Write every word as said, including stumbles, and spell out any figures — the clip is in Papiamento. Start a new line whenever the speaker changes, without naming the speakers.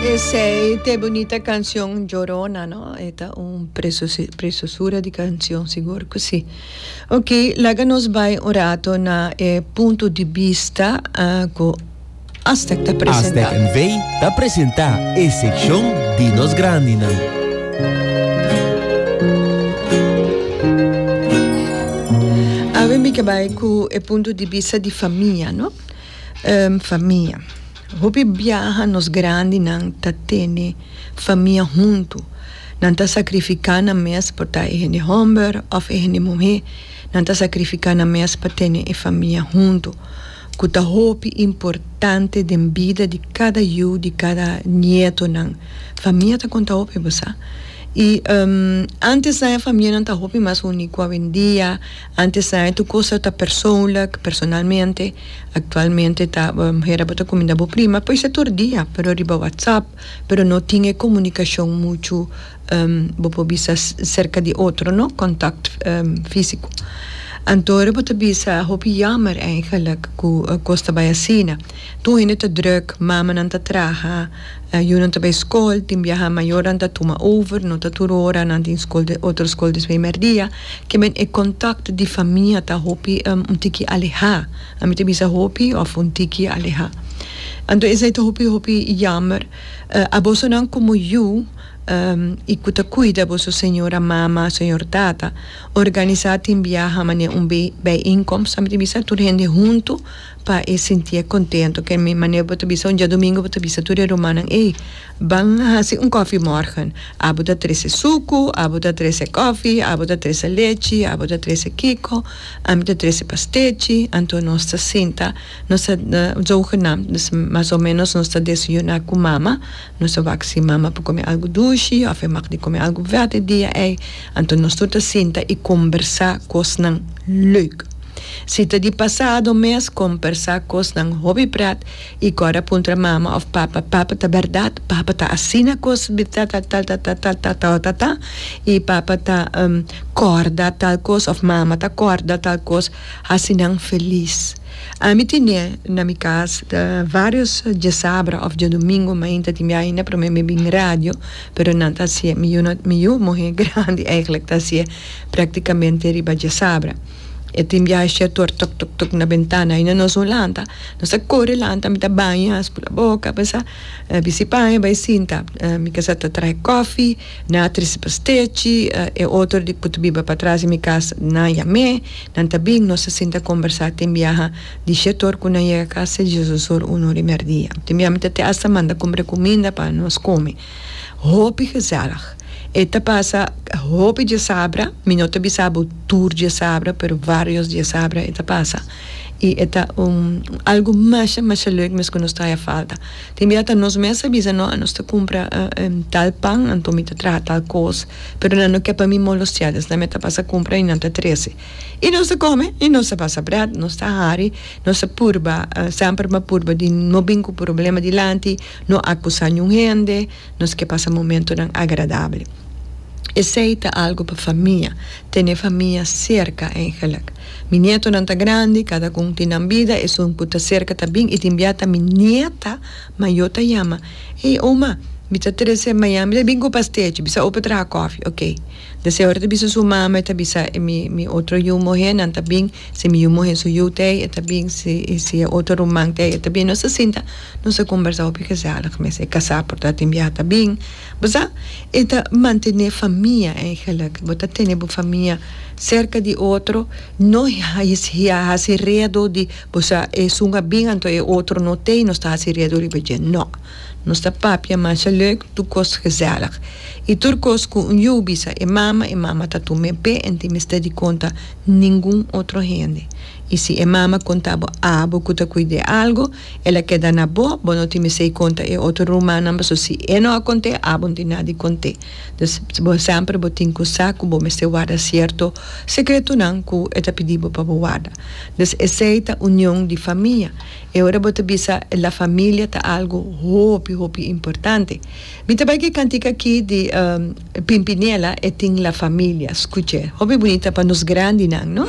Esey ta bunita cancion Llorona, no? E ta un preciosura di cancion, sigur cu si. Ok, laga nos bay un rato na eh, punto di bista uh, cu Astec ta presenta.
Astec N V ta presenta e seccion di nos grandinan.
Awe mi ke bay cu e punto di bista di famia, no? Um, famia. Hopi biaha nos grandinan ta tene famia hunto. Nan ta sacrifica nan mes por ta e hende homber of e hende muhe. Nan ta sacrifica nan mes pa tene e famia hunto. Cu ta hopi importante den bida di cada yu, di cada nietonan. Famia ta conta hopi, bo sa. Y um, antes na e famianan ta hopi mas uni cu awendia. Antes na tur cos ta persoonlijk, personalmente. Actualmente ta um, hera bo ta cuminda bo prima, pues e tur dia, pero riba WhatsApp, pero no tin e comunicacion mucho um, bo por bisa cerca di otro, no? Contact um, fisico. Anto bo ta bisa hopi jammer eigenlijk cu uh, cos ta bay asina. Tur hende ta druk, mamanan ta traha, uh, yunan ta bay school, tin biaha mayornan ta tuma over, no ta tur ora, nan tin school de, otro school despues merdia. Ke men e contact di famia ta hopi um, un tiki aleha. Ami ta bisa hopi of un tiki aleha. Anto esey ta hopi hopi jammer. Uh, abosonan como yu um, y cu ta cuida boso señora mama, señor tata, organisa tin biaha mane un bijeenkomst, ami ta bisa tur hende hunto pa e sinti contento. Ke men mane bo ta bisa un diadomingo, bo ta bisa tur e rumannan: "Ey, ban hasi un koffiemorgen. Abo ta trece suco, abo ta trece koffie, abo ta trece lechi, abo ta trece kiko, ami ta trece pastechi." Anto nos ta sinta, nos ta uh, zogenaamd, dus mas o menos nos ta desayuna cu mama, nos ta wak si mama por come algo dushi, of e mag di come algo vet e dia ey, anto nos tur ta sinta y combersa cosnan leuk. Si ta di pasado mes, combersa cosnan hopi pret y ora puntra mama of papa: "Papa, ta berdad? Papa, ta asina cos ta ta ta ta ta ta ta ta ta ta?" Y papa ta um, corda tal cos of mama ta corda tal cos, hasi nan feliz. Ami tene na mi cas uh, varios diasabra of diadomingo mainta, tin ainda pa mi bin radio, pero nan ta hacie, mi yu mi yu muhe grandi eigenlijk ta hacie practicamente riba diasabra. E tin biaha tor tok tok tok na bentana, ainda nos no lanta. Nos ta core lanta, mi ta baña, spula boca, pensa, uh, bisti paña, bay sinta. Uh, mi casa ta traha koffie, nan a trece pastechi, uh, e otro di cu ta biba patras di mi cas nan a yam'e, nan ta bin, nos ta sinta combersa tin biaha di shetor cu nan yega cas diesdos or, un or y merdia. Tin biaha mi ta te hasta manda cumpra cuminda pa nos come. Hopi gezellig. E ta pasa hopi diasabra, mi no ta bisa bo tur diasabra, pero varios diasabra e ta pasa. Y e ta un, algo mas, mas leuk, mas cu nos ta falta. Tin biaha ta nos mes a bisa: "No, nos ta cumpra uh, um, tal pan, anto mi ta traha tal cos", pero nan no kier pa mi molestia, dus nan mes ta pasa cumpra y nan ta trece. Y nos ta come, y nos ta pasa pret, nos ta hari, nos ta purba, uh, semper mi a purba di no bin cu problema dilanti, no acusa ningun hende, nos kier pasa momentonan agradabel. Esey ta algo pa famia, tene famia cerca eigenlijk. Mi nietonan ta grandi, cada un tin nan bida, esun cu ta cerca ta bin, y tin biaha ta mi nieta, mayo ta yama: "Hey oma, mi ta trece mañan, mi ta bin cu pastechi, bisa opa traha koffie." Ok. Dus ora ta bisa su mama, ta bisa mi, mi otro yu muhe, nan ta bin, si mi yu muhe su yu t'ey, ta bin, si, si otro ruman t'ey, ta bin, nos ta sinta, nos ta combersa hopi gezellig, mes e casa por ta tin biaha ta bin. Bo sa, e ta mantene famia eigenlijk, bo ta tene bo famia cerca di otro, no hasi redo di, bo sa, esun a bin, anto e otro no t'ey, nos ta hasi redo riba dje, no. Nos ta papia masha leuk, tur cos gezellig. Y tur cos cu un yu bisa e mama, e mama ta tum'e p'e, e n' tin mester di conta ningun otro hende. Y si e mama conta bo, abo cu ta cuida algo, el a keda na bo, bo no tin mester conta e otro rumannan, so si e no a cont'e, abo no tin nada di cont'e. Dus bo semper bo tin cu sa cu bo mester warda cierto secretonan cu e ta pidi bo pa bo warda. Dus esey ta union di famia. Y ora bo ta bisa la familia ta algo hopi hopi importante. Mi tambe cu cantica aki di um, Pimpinela e tin La Familia. Scucha, hopi bunita pa nos grandinan, no?